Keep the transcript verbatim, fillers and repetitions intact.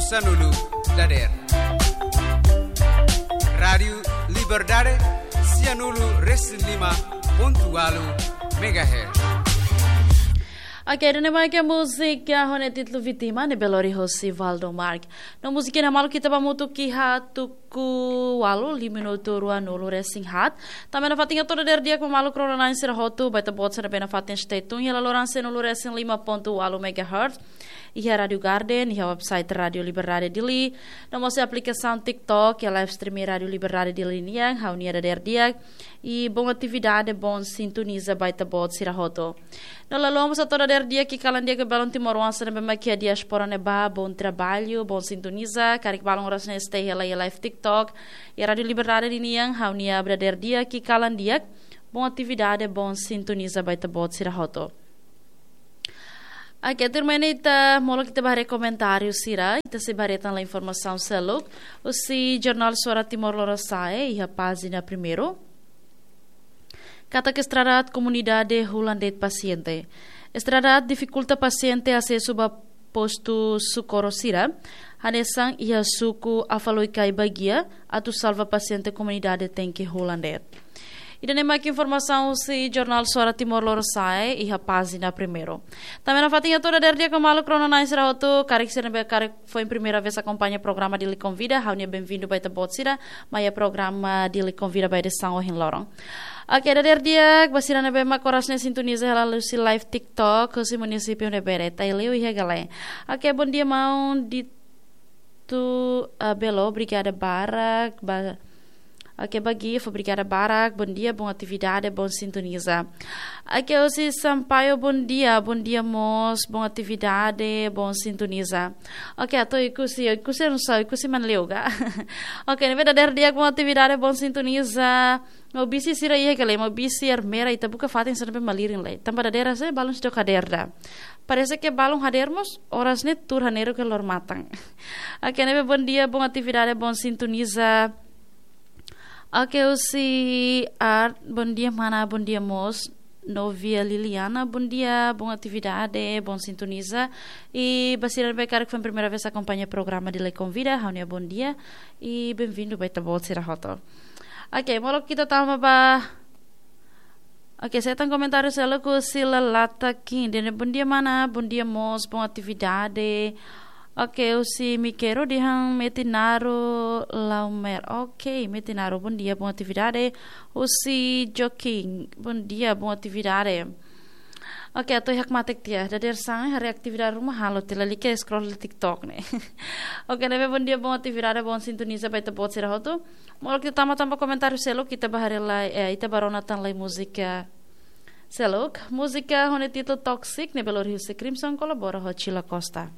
Sanulu dader. Rádiu Liberdade, sianulu resin lima pontu ualu megahertz. Oke, ida-ne'e mak múzika ho nia títulu Vítima, ne'ebé lori hosi Valdo Mark. No múzika ne'e malu ita ba hamutuk iha tuku ualu, lima minutu ruanulu resin haat. Tanba nafatin hato'o dader di'ak ba maluk rona-na'in sira hotu, ba ita-boot sira ne'ebé nafatin stay tune iha laloran sianulu resin lima pontu ualu megahertz. Iha Rádiu Garden, iha website Rádiu Liberdade Dili, no mós iha aplikasaun TikTok, iha live streaming Rádiu Liberdade Dili nian, ha'u-nia dader di'ak, i bom atividade, bom sintoniza ba ita-boot sira hotu. No lalika mós hato'o dader di'ak ki'ik kalan di'ak ba maluk timoroan sira ne'ebé mak iha diáspora ne'ebá, bom trabalho, bom sintoniza, karik balun oras ne'e stay hela iha live TikTok, iha Rádiu Liberdade Dili nian, ha'u-nia dader di'ak ki'ik kalan di'ak, bom atividade, bom sintoniza ba ita-boot sira hotu. Oke, tuirmai ne'e ita molok ita ba haree komentáriu sira, ita sei ba haree tan informasaun seluk, husi Jornál Suara Timor Lorosa'e, iha pájina primeiru. Katak estrada aat komunidade hola de'it pasiente. Estrada aat difikulta pasiente asesu ba postu sokoro sira, hanesan iha suku Afaloicai bagian, atu salva pasiente komunidade tenke hola de'it. Ida-ne'e mak informasaun husi Jornál Suara Timor Lorosa'e, iha pájina primeiru. Tanba nafatin hato'o dader di'ak ba maluk rona-na'in sira hotu, karik sira ne'ebé karik foin primeira vez akompaña programa Dili Konvida, ha'u-nia benvindu ba ita-boot sira, mai iha programa Dili Konvida ba edisaun ohin loron. Oke, dader di'ak ba sira ne'ebé mak oras ne'e sintoniza hela husi live TikTok, husi munisípiu ne'ebé de'it, Aileu iha Galé. Oke, bom dia, maun Dito, ah, Belo, obrigada barak, ba, oke, ba Gif, obrigada barak, bom dia, bom atividade, bom sintoniza. Oke, husi Sampaio, bom dia, bom dia mós, bom atividade, bom sintoniza. Oke, atu Oekusi, Oekusi, não sei, Oekusi manleuga. Oke, ne'ebé dader di'ak, bom atividade, bom sintoniza. Maubisse sira iha ka lae, Maubisse, Ermera, ita buka fatin sira ne'ebé malirin lai. Tanba dadeer hanesan balun seidauk hadeer ida. Parese ke balun hadeer mós, oras ne'e tuur hanesan ke lor matan. Oke, ne'ebé bom dia, bom atividade, bom sintoniza. Oke, husi Art, bom dia, mana, bom dia, mós. Novia Liliana, bom dia, bom atividade, bom sintoniza. I ba sira ne'ebé karik foin primeira vez akompaña programa Dili Konvida, ha'u-nia bom dia. I benvindu ba ita-boot sira hotu. Oke, molok ita tama ba. Oke, sei hetan komentáriu seluk husi Lalata Kin. Ida-ne'e bom dia, mana, bom dia mós, bom atividade. Oke, husi Mikero dehan Metinaro Laumer. Oke, Metinaro, bom dia, bom atividade. Husi Joking, bom dia, bom atividade. Oke, atu hakmatek tiha, dadeer-saan haree atividade ruma halo, lalika scroll TikTok ne'e. Oke, ne'ebé bom dia, bom atividade, bom sintoniza ba ita-boot sira hotu. Molok ita tama tan ba komentáriu seluk, ita ba haree lai, eh, ita ba rona tan lai múzika seluk. Múzika ho nia títulu Toxic, ne'ebé lori husi Crimson kolabora ho Chila Costa.